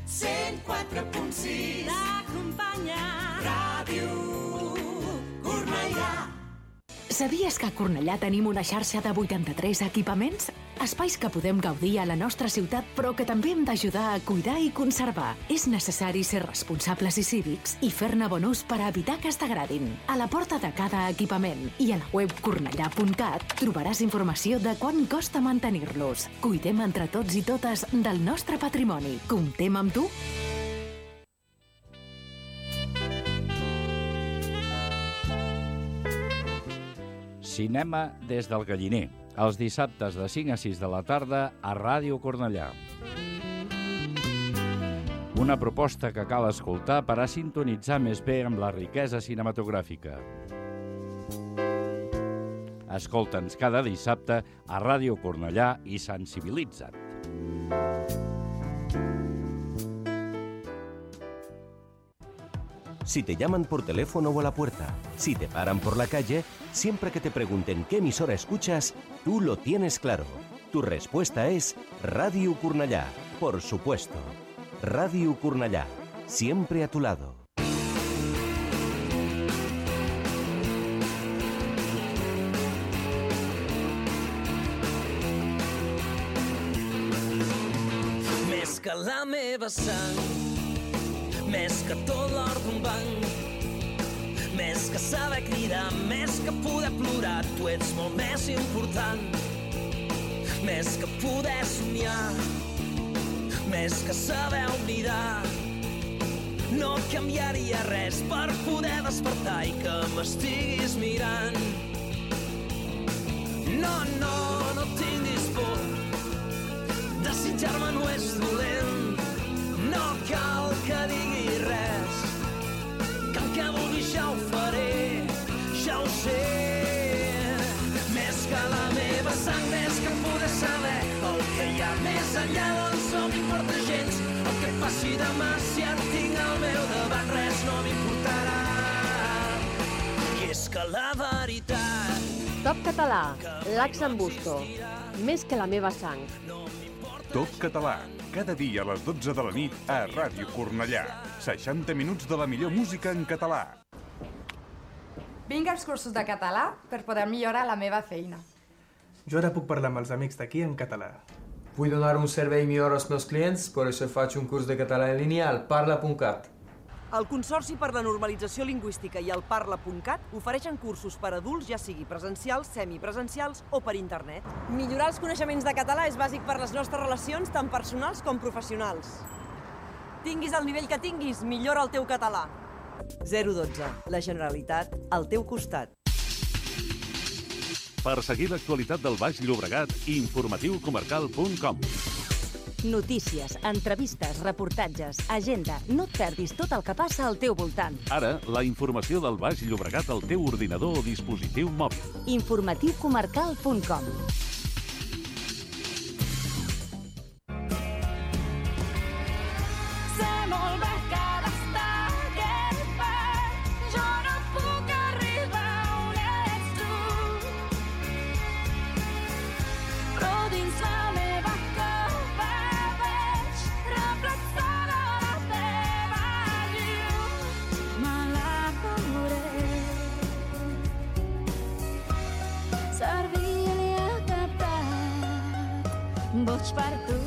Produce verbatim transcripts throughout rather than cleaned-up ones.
cent quatre punt sis T'acompanya Ràdio Cornellà. Sabies que a Cornellà tenim una xarxa de vuitanta-tres equipaments? Espais que podem gaudir a la nostra ciutat, però que també hem d'ajudar a cuidar i conservar. És necessari ser responsables i cívics i fer-ne bon ús per a evitar que es degradin. A la porta de cada equipament i a la web cornellà punt cat trobaràs informació de quant costa mantenir-los. Cuidem entre tots i totes del nostre patrimoni. Comptem amb tu? Cinema des del Galliner, els dissabtes de cinc a sis de la tarda a Ràdio Cornellà. Una proposta que cal escoltar per a sintonitzar més bé amb la riquesa cinematogràfica. Escolta'ns cada dissabte a Ràdio Cornellà i sensibilitza't. Si te llaman por teléfono o a la puerta, si te paran por la calle, siempre que te pregunten qué emisora escuchas, tú lo tienes claro. Tu respuesta es Ràdio Cornellà, por supuesto. Ràdio Cornellà, siempre a tu lado. Més que la meva sang, més que tot l'or d'un banc, més que saber cridar, més que poder plorar, tu ets molt més important. Més que poder somiar, més que saber oblidar, no canviaria res per poder despertar i que m'estiguis mirant. No, no, no tinguis por, desitjar-me no és dolent, no cal que digui res, que el que vulgui ja ho faré, ja ho sé. Més que la meva sang, més que poder saber el que hi ha més enllà, doncs no m'importa gens el que passi demà. Si et tinc al meu davant res no m'importarà, i és que la veritat... Top Català, l'Axen Busto, més que la meva sang. Top Català, cada dia a les dotze de la nit a Ràdio Cornellà. seixanta minuts de la millor música en català. Vinc als cursos de català per poder millorar la meva feina. Jo ara puc parlar amb els amics d'aquí en català. Vull donar un servei millor als meus clients, per això faig un curs de català en línia al parla punt cat. El Consorci per la Normalització Lingüística i el parla punt cat ofereixen cursos per adults, ja sigui presencials, semipresencials o per internet. Millorar els coneixements de català és bàsic per les nostres relacions, tant personals com professionals. Tinguis el nivell que tinguis, millora el teu català. zero dotze. La Generalitat, al teu costat. Per seguir l'actualitat del Baix Llobregat, informatiu comarcal punt com. Notícies, entrevistes, reportatges, agenda. No et perdis tot el que passa al teu voltant. Ara, la informació del Baix Llobregat al teu ordinador o dispositiu mòbil. informatiu comarcal punt com. Boig per tu.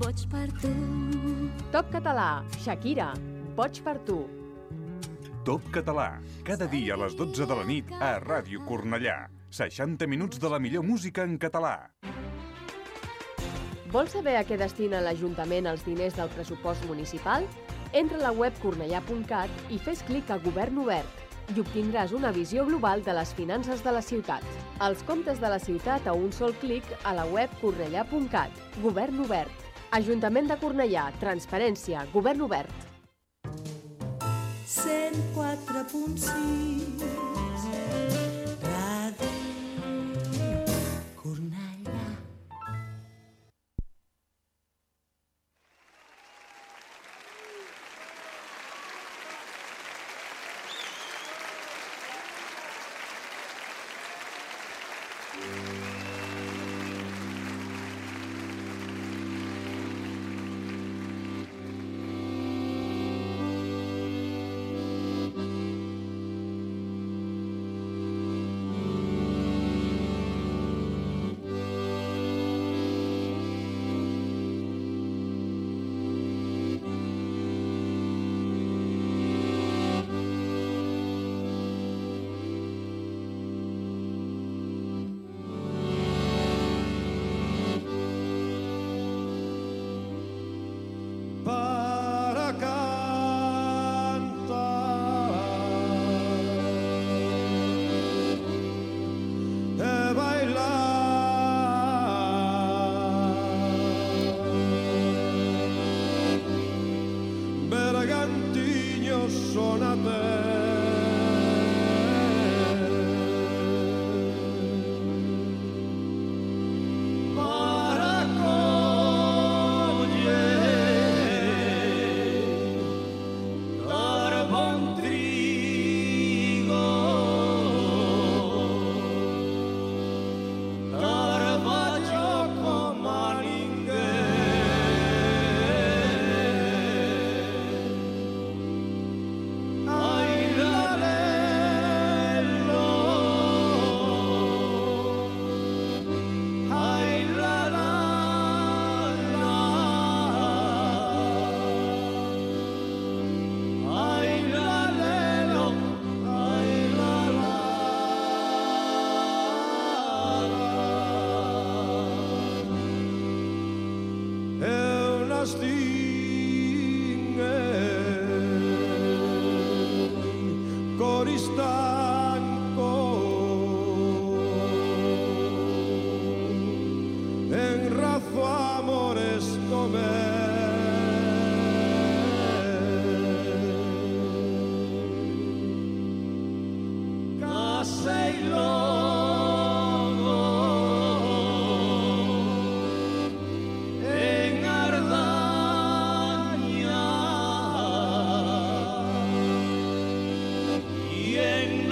Boig per tu. Top Català, Shakira, Boig per tu. Top Català, cada dia a les dotze de la nit a Ràdio Cornellà. seixanta minuts de la millor música en català. Vols saber a què destina l'Ajuntament els diners del pressupost municipal? Entra a la web cornellà punt cat i fes clic a Govern Obert i obtindràs una visió global de les finances de la ciutat. Els comptes de la ciutat a un sol clic a la web cornellà punt cat. Govern Obert. Ajuntament de Cornellà. Transparència. Govern Obert. cent quatre punt sis Ràdio Cornellà. Y en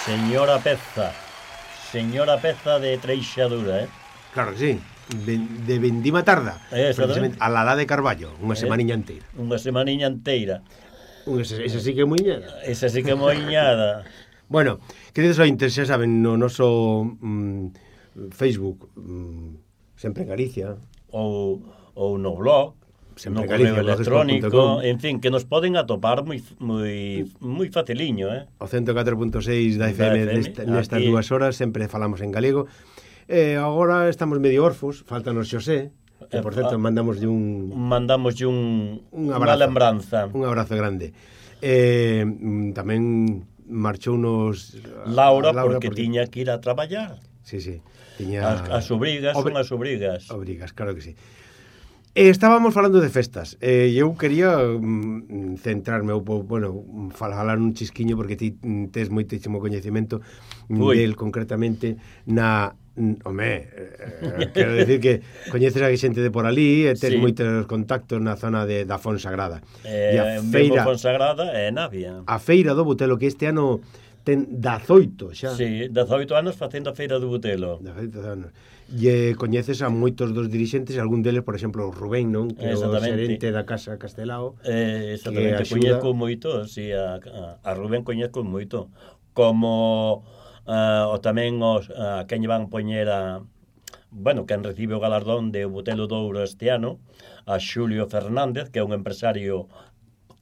Señora Peza. Señora Peza de Treixadura, eh? Claro que sí. De, de Vendima Tarda. Exactamente. A la la de Carballo, unha semaniña eh, inteira. Unha semaniña inteira. Esa, esa sí que é moiñada. Esa sí que é moiñada. Bueno, queridos ointes, xa saben, no noso mm, Facebook, mm, Sempre en Galicia. Ou, ou no blog. Sempre no correo electrónico, en fin, que nos poden atopar moi moi moi faciliño, eh? O ciento catro punto seis da F M, da F M nesta, nestas aquí... dúas horas sempre falamos en galego. Eh, agora estamos medio orfos, faltanos Xosé, que por certo mandamos de un mandamos de un un abrazo, unha lembranza. Un abrazo grande. Eh, tamén marchou nos Laura, Laura porque, porque tiña que ir a traballar. Sí, sí, tiña as, as obrigas, Obri... son as obrigas. Obrigas, claro que sí. Eh, estábamos falando de festas e eh, eu quería mm, centrarme ou, bueno, falar un chisquiño porque ti tes moitísimo coñecemento del concretamente na home, eh, quero decir que coñeces a xente de por ali e tes sí. moitos contactos na zona de, da Fonsagrada eh, e a feira Fonsagrada é Navia. A feira do Butelo que este ano ten dezaoito xa. Sí, dezaoito anos facendo a feira do Butelo. dezaoito anos. E coñeces a moitos dos dirixentes, algún deles, por exemplo, Rubén, non? Que é o xerente da Casa Castelao. Eh, exactamente, coñezco moito, sí, a, a, a Rubén coñezco moito. Como uh, o tamén os, a quen van poñer a... Bueno, quen recibe o galardón de Butelo de Ouro este ano, a Xulio Fernández, que é un empresario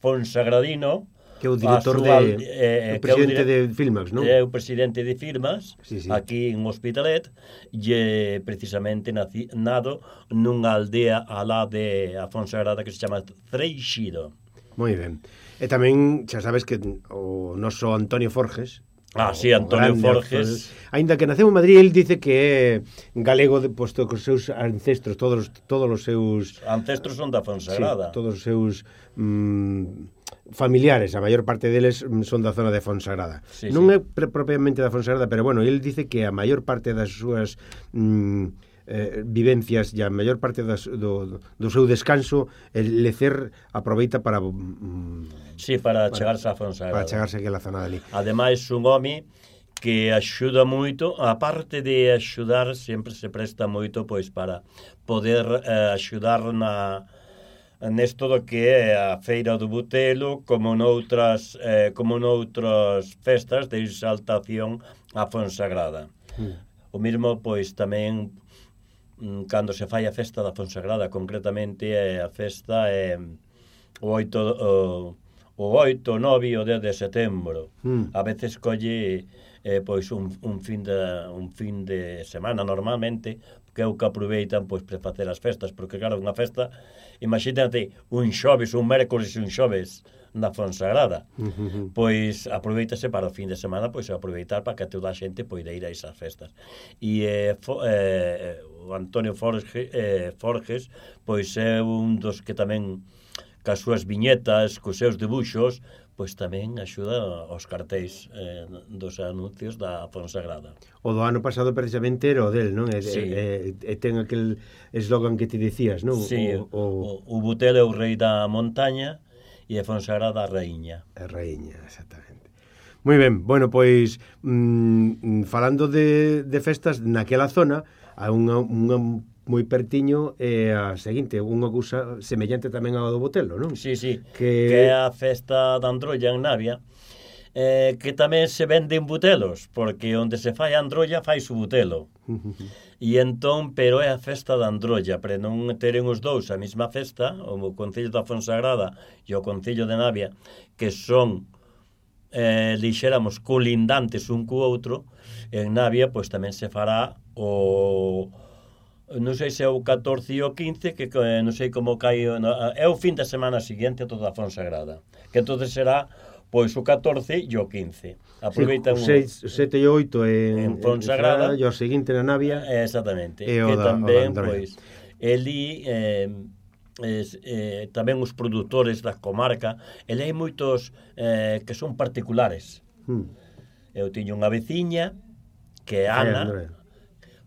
fonsagradino, que é o director súa, de eh, o presidente de Filmax, non? É o presidente de Filmax, sí, sí. aquí en Hospitalet, e precisamente naci, nado nunha aldea alá de a Fonsagrada que se chama Freixido. Moi ben. E tamén, xa sabes que o noso Antonio Forges, Ah, sí, Antonio Forges. Ainda que naceu en Madrid, el dice que é galego de, posto cos seus ancestros, todos, todos os seus... Ancestros son da Fonsagrada. Sí, todos os seus mmm, familiares, a maior parte deles son da zona de Fonsagrada. Sí, non sí. é propiamente da Fonsagrada, pero bueno, el dice que a maior parte das súas... Mmm, Eh, vivencias e a maior parte das, do, do seu descanso el lecer aproveita para mm, sí, para, para chegarse a Fonsagrada, para chegarse aquí a la zona dali. Ademais un home que axuda moito, a parte de axudar sempre se presta moito pois para poder eh, axudar na nesto do que é a Feira do Butelo, como noutras eh, como noutras festas de exaltación a Fonsagrada. Mm. O mesmo pois tamén cando se fai a festa da Fonsagrada, concretamente a festa é o oito o, o oito, nove e o dez de setembro. Mm. A veces colle eh, pois un, un fin de un fin de semana normalmente, que é o que aproveitan pois para facer as festas, porque claro, unha festa, imagínate un xoves, un mércoles e un xoves na Fonsagrada. Uh-huh. Pois aproveitase para o fin de semana, pois aproveitar para que toda a xente poida ir a esas festas. E eh, fo, eh, o Antonio Forges, eh, Forges pois é un dos que tamén cas súas viñetas, cos seus debuxos, pois tamén axuda aos cartéis eh, dos anuncios da Fonsagrada. O do ano pasado precisamente era o del, non? E, sí. e, e ten aquel eslogan que te dicías, non? Sí, o, o, o Butelo é o rei da montaña e a Fonsagrada a raíña. A raíña, exactamente. Moi ben, bueno, pois mmm, falando de, de festas naquela zona, a unha, unha moi pertiño é a seguinte, unha cousa semellante tamén ao do Butelo, non? Sí, sí, que, que é a festa da Androlla en Navia, eh, que tamén se venden butelos, porque onde se fai a Androlla fai su butelo. E entón, pero é a festa da Androlla, para non teren os dous a mesma festa, o Concello da Fonsagrada e o Concello de Navia, que son eh, lixéramos colindantes un co outro, en Navia pois tamén se fará o... non sei se é o catorce e o quince, que eh, non sei como cae, é o fin de semana siguiente a toda a Fonsagrada, que entonces será pois o catorce e o quince. Aproveitan sí, o sete e oito en en, en Fonsagrada e o seguinte na Navia. Exactamente. E que da, tamén pois eli eh, es, eh, tamén os produtores da comarca, eli hai moitos eh, que son particulares. Hmm. Eu tiño unha veciña que é Ana, eh,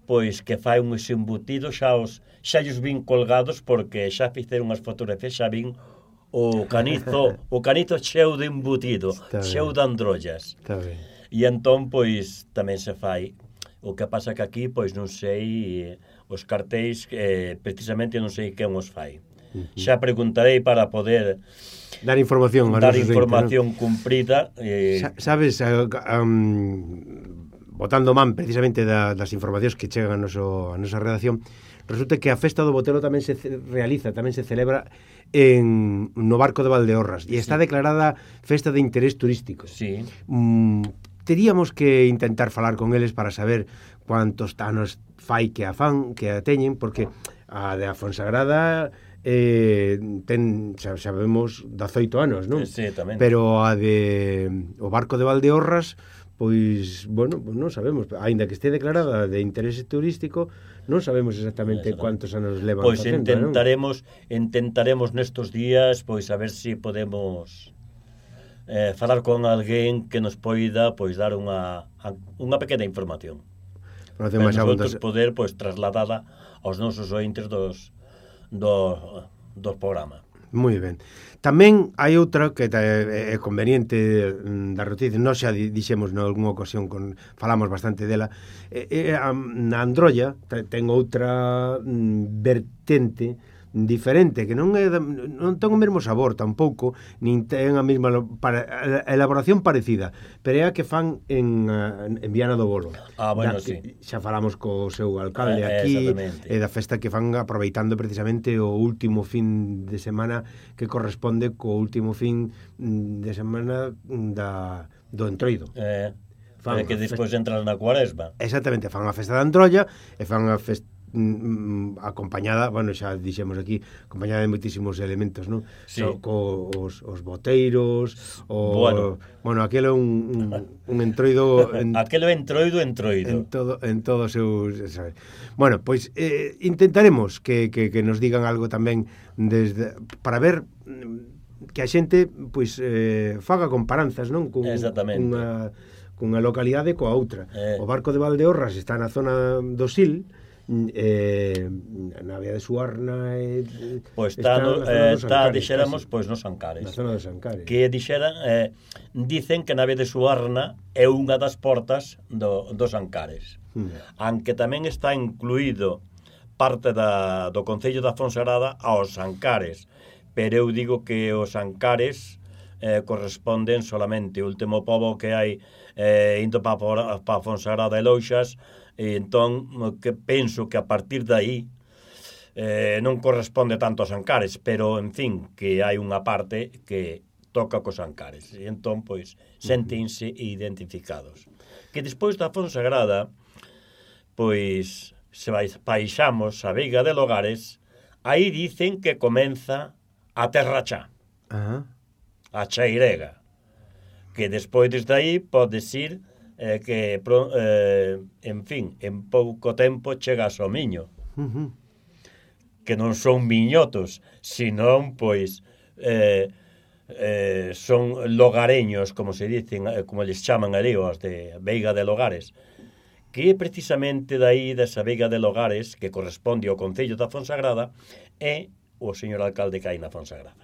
pois que fai uns embutidos, xa os xa os vin colgados porque xa fixeron unhas fotografías, xa vin o canizo, o canizo cheo de embutido, cheo de androllas. Está ben. E entón, pois, tamén se fai. O que pasa que aquí, pois, non sei, os cartéis, eh, precisamente non sei quen os fai. Uh-huh. Xa preguntarei para poder dar información, dar información ¿no? cumprida. Eh... Sabes, uh, um, botando man precisamente da, das informacións que chegan a, noso, a nosa redacción, resulta que a festa do Botelo tamén se realiza, tamén se celebra en no Barco de Valdeorras e está sí. declarada festa de interés turístico. Sí. Mm, teríamos que intentar falar con eles para saber cuántos anos fai que a fan, que a teñen, porque a de a Fonsagrada eh, ten, xa, sabemos, dezoito anos, non? Sí, tamén. Pero a de o Barco de Valdeorras, pois, bueno, pues non sabemos, aínda que este declarada de interés turístico, non sabemos exactamente cuántos anos levan pois facendo, intentaremos, non? intentaremos nestos días, pois a ver se si podemos eh, falar con alguén que nos poida pois dar unha unha pequena información. Para nosotros poder pois trasladada aos nosos ointes dos do, do programa. Moi ben. Tamén hai outra que é conveniente da noticia, nós xa dixemos nalgúna ocasión, con, falamos bastante dela, é, é, na Androlla ten outra vertente diferente, que non é non ten o mesmo sabor tampouco, nin ten a mesma para, a elaboración parecida, pero é a que fan en, en Viana do Bolo. Ah, bueno, da, sí. Xa falamos co seu alcalde eh, aquí, e da festa que fan aproveitando precisamente o último fin de semana que corresponde co último fin de semana da, do Entroido. Eh, fan que despois entran na Cuaresma. Exactamente, fan a festa da Androlla e fan a festa acompañada, bueno, xa dixemos aquí, acompañada de moitísimos elementos, non? Sí. So, co, os, os boteiros, o bueno, bueno aquelo é un, un, un entroido en, aquelo é entroido, entroido. En todo en todo seus, sabes. Bueno, pois eh, intentaremos que, que, que nos digan algo tamén desde para ver que a xente pois eh, faga comparanzas, non? Con Exactamente. Unha cunha localidade coa outra. Eh. O Barco de Valdeorras está na zona do Sil, eh, na Vía de Suarna eh, pois está, no, eh, está dixéramos, pois nos Ancares, na zona dos Ancares, que dixera eh, dicen que na Vía de Suarna é unha das portas do, dos Ancares, mm. aunque tamén está incluído parte da, do Concello da Fonsagrada aos Ancares, pero eu digo que os Ancares eh, corresponden solamente o último pobo que hai eh, indo para pa Fonsagrada e Louxas. E entón, que penso que a partir de aí eh, non corresponde tanto aos Ancares, pero, en fin, que hai unha parte que toca cos Ancares. E entón, pois, sentense identificados. Que despois da Fonsagrada, pois, se baixamos a Veiga de Logares, aí dicen que comeza a Terra Chá, uh-huh. a Chairega, que despois desde aí podes ir eh, que, eh, en fin, en pouco tempo chegas ao Miño. Uh-huh. Que non son miñotos, senón, pois, eh, eh, son logareños, como se dicen, como les chaman ali, os de Veiga de Logares, que precisamente daí desa Veiga de Logares, que corresponde ao Concello da Fonsagrada, é o señor alcalde que hai na Fonsagrada.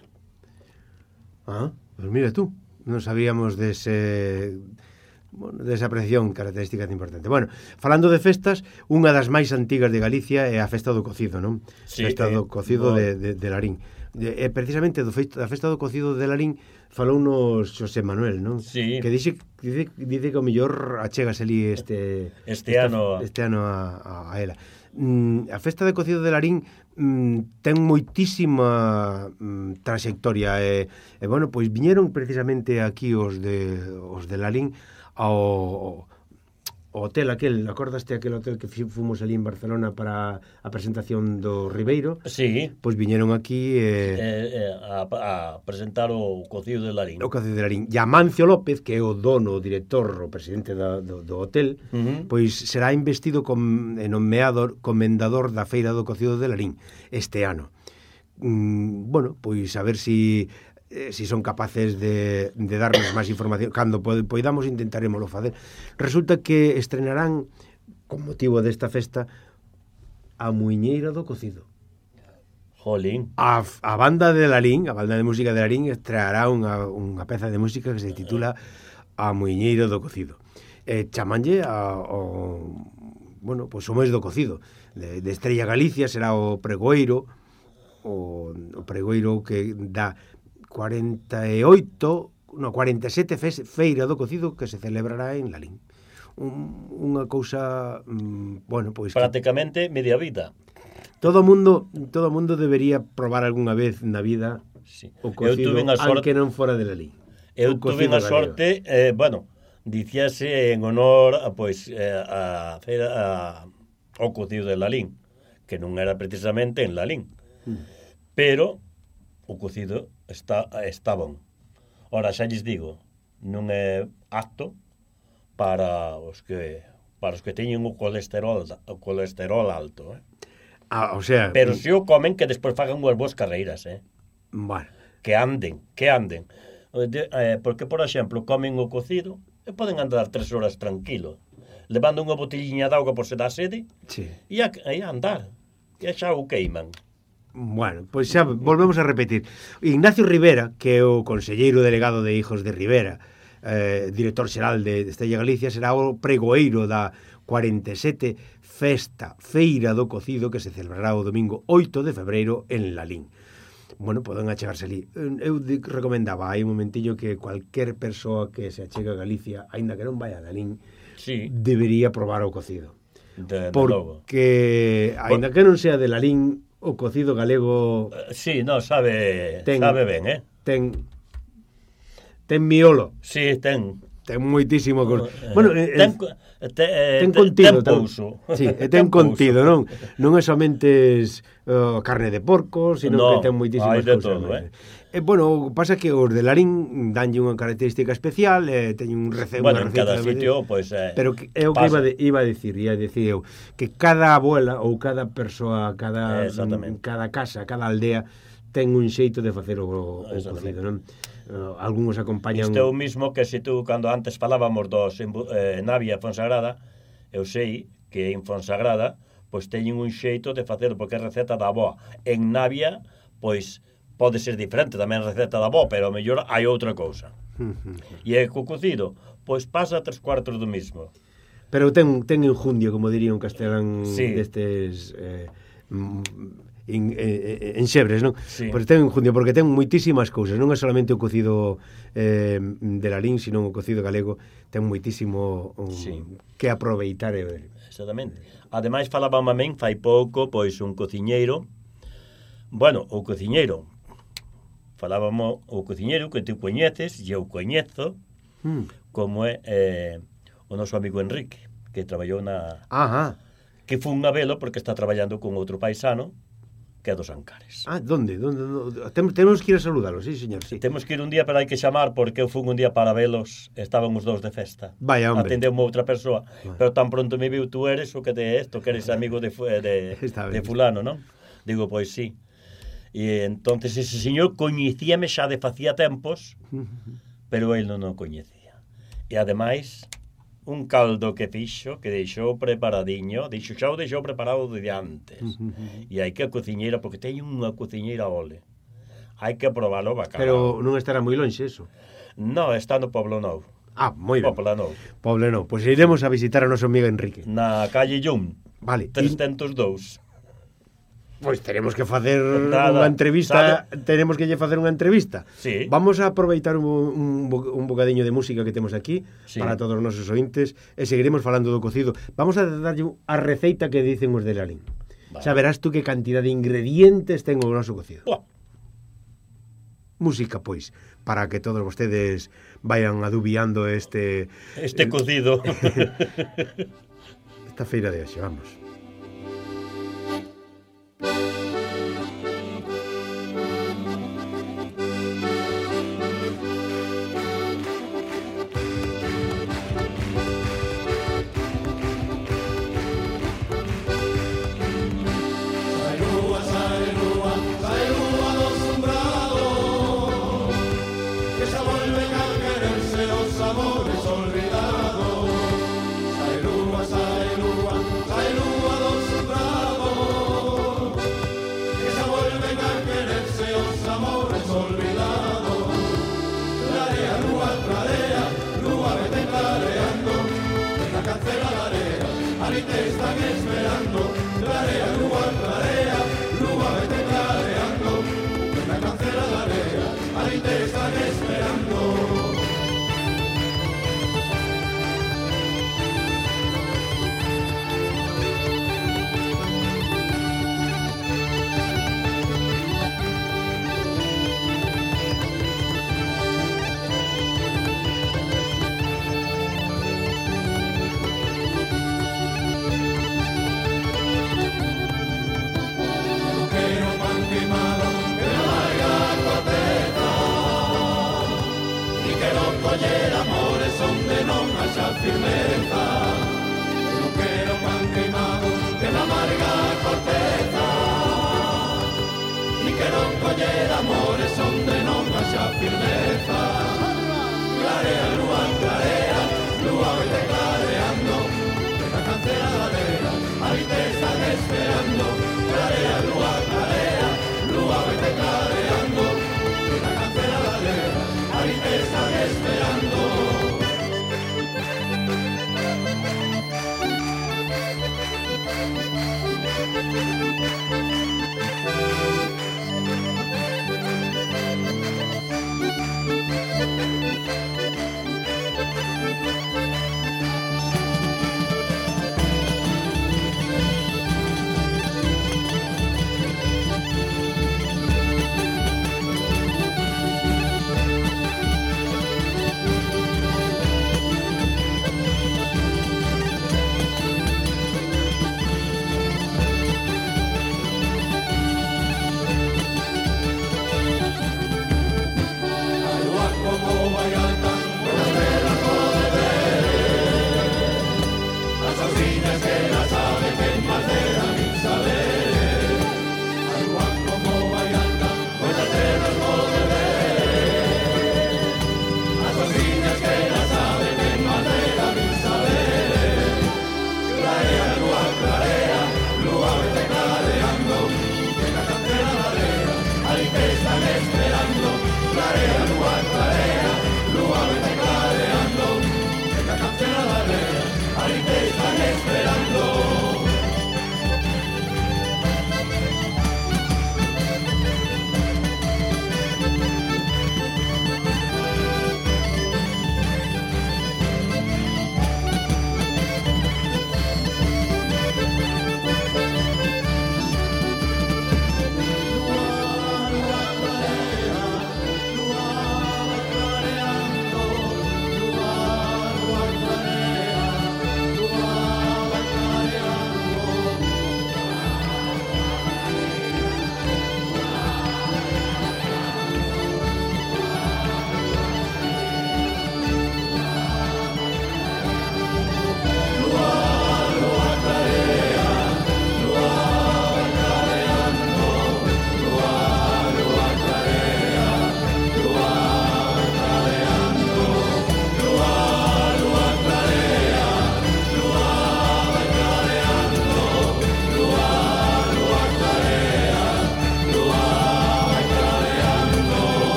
Ah, pues mira tú, non sabíamos dese... Bueno, desa apreciación característica importante. Bueno, falando de festas, unha das máis antigas de Galicia é a festa do cocido, non? Sí, festa eh, do cocido no. de, de, de Larín. E eh, precisamente do feito, da festa do cocido de Larín falounos Xosé Manuel, non? Sí. Que dice, dice, dice que o mellor achegas ali este este esta, ano este ano a, a, a ela. Mm, a festa de cocido de Larín mm, ten moitísima mm, trayectoria e, e bueno, pois viñeron precisamente aquí os de os de Larín ao o hotel aquel, acordaste aquel hotel que fomos ali en Barcelona para a presentación do Ribeiro? Sí. Pois viñeron aquí eh, eh, eh, a, a presentar o cocido de Larín. O cocido de Larín. E Amancio López, que é o dono, o director, o presidente da, do, do hotel, uh-huh. pois será investido com, nomeado comendador da Feira do Cocido de Larín este ano. Mm, bueno, pois a ver si... Eh, si son capaces de, de darnos máis información cando poidamos intentaremoslo facer. Resulta que estrenarán con motivo desta festa a Muiñeira do Cocido. Jolín. A, a banda de Larín, a banda de música de Larín estreará unha, unha peza de música que se titula a muiñeira do cocido. E chamanlle a, o, bueno, pois o mes do cocido. De, de Estrella Galicia será o pregoeiro, o, o pregoeiro que dá cuarenta e oito, no, cuarenta e sete fe, feira do cocido que se celebrará en Lalín. Un, unha cousa, mm, bueno, pois... Prácticamente que... media vida. Todo mundo, todo mundo debería probar algunha vez na vida sí. o cocido, sorte... aunque non fora de Lalín. Eu tuve a sorte, eh, bueno, dicíase en honor a, pois, eh, a, a, a, ao cocido de Lalín, que non era precisamente en Lalín. Mm. Pero o cocido está, está bon. Ora, xa lles digo, non é apto para os que para os que teñen o colesterol, o colesterol alto, eh? Ah, o sea... Pero se o comen, que despois fagan unhas boas carreiras, eh? Bueno. Que anden, que anden. De, eh, porque, por exemplo, comen o cocido e poden andar tres horas tranquilo, levando unha botelliña de auga por se dá sede, sí. e, a, e a andar. E xa o queiman. Bueno, pois xa volvemos a repetir. Ignacio Rivera, que é o conselleiro delegado de Hijos de Rivera, eh, director xeral de Estrella Galicia, será o pregoeiro da cuarenta e sete Festa Feira do Cocido que se celebrará o domingo oito de febreiro en Lalín. Bueno, poden achegarse ali. Eu recomendaba hai un momentillo que cualquier persoa que se achega a Galicia, aínda que non vaya a Lalín, sí. debería probar o cocido. De, de Porque, logo. aínda que non sea de Lalín, o cocido galego... Uh, sí, no, sabe, ten, sabe ben, eh? Ten, ten miolo. Sí, ten. Ten moitísimo... Uh, bueno, eh, ten, eh, te, eh, ten contido. Ten pouso. Sí, ten, ten contido, non? Non é somente uh, carne de porco, sino no, que ten moitísimas cousas. Todo, eh? Eh, bueno, pasa que os de Lalín danlle unha característica especial, eh, teñen un recebo, bueno, unha en cada de... sitio, pois... Eh, pero que, é o que iba, de, iba a dicir, ia dicir eu, que cada abuela ou cada persoa, cada, cada casa, cada aldea, ten un xeito de facer o, o cocido, non? Uh, algúns acompañan... Isto é o mismo que se tú, cando antes falábamos dos eh, Navia e Fonsagrada, eu sei que en Fonsagrada, pois teñen un xeito de facer, porque é receta da avó. En Navia, pois... pode ser diferente tamén a receta da avó, pero mellor hai outra cousa. E é co cocido, pois pasa tres cuartos do mismo. Pero ten, ten enjundio, como diría un castelán sí. destes eh, en, en, en xebres, non? Sí. Pois ten enjundio, porque ten moitísimas cousas, non é solamente o cocido eh, de Lalín, sino o cocido galego, ten moitísimo um, sí. que aproveitar. Eh. Exactamente. Ademais, falaba mamén fai pouco, pois un cociñeiro, bueno, o cociñeiro, falábamos o cociñeiro que tú coñeces, e eu coñezo, mm. como é eh, o noso amigo Enrique, que traballou na... Ajá. Que foi un velo porque está traballando con outro paisano, que é dos Ancares. Ah, donde? donde, donde? Tem, temos que ir a saludarlo, sí, señor, sí. Temos que ir un día, pero hai que chamar, porque eu fui un día para velos, estaban os dous de festa. Vaya, hombre. Atendeu outra persoa, vale. Pero tan pronto me viu, tú eres o que te esto, que eres amigo de, de, de fulano, non? Digo, pois sí. E entonces ese señor coñecíame xa de facía tempos, pero el non o coñecía. E ademais, un caldo que fixo, que deixou preparadiño, deixou xa o deixou preparado de antes. E hai que a cociñeira, porque teño unha cociñeira ole. Hai que probarlo bacalao. Pero non estará moi lonxe eso? No, está no Poblo Novo. Ah, moi ben. Poblo Novo. Poblo Novo. Pois iremos a visitar a noso amigo Enrique. Na calle Llum. Vale. trescentos e dous. Pois teremos que facer Nada, unha entrevista, sabe? tenemos que lle facer unha entrevista. Sí. Vamos a aproveitar un, un, un bocadiño de música que temos aquí, sí. para todos os nosos ointes, e seguiremos falando do cocido. Vamos a darlle a receita que dicen os de Lalín. Vale. Xa verás tú que cantidad de ingredientes ten o noso cocido. Buah. Música, pois, para que todos vostedes vayan adubiando este... Este cocido. Esta feira de hoxe, vamos. Amor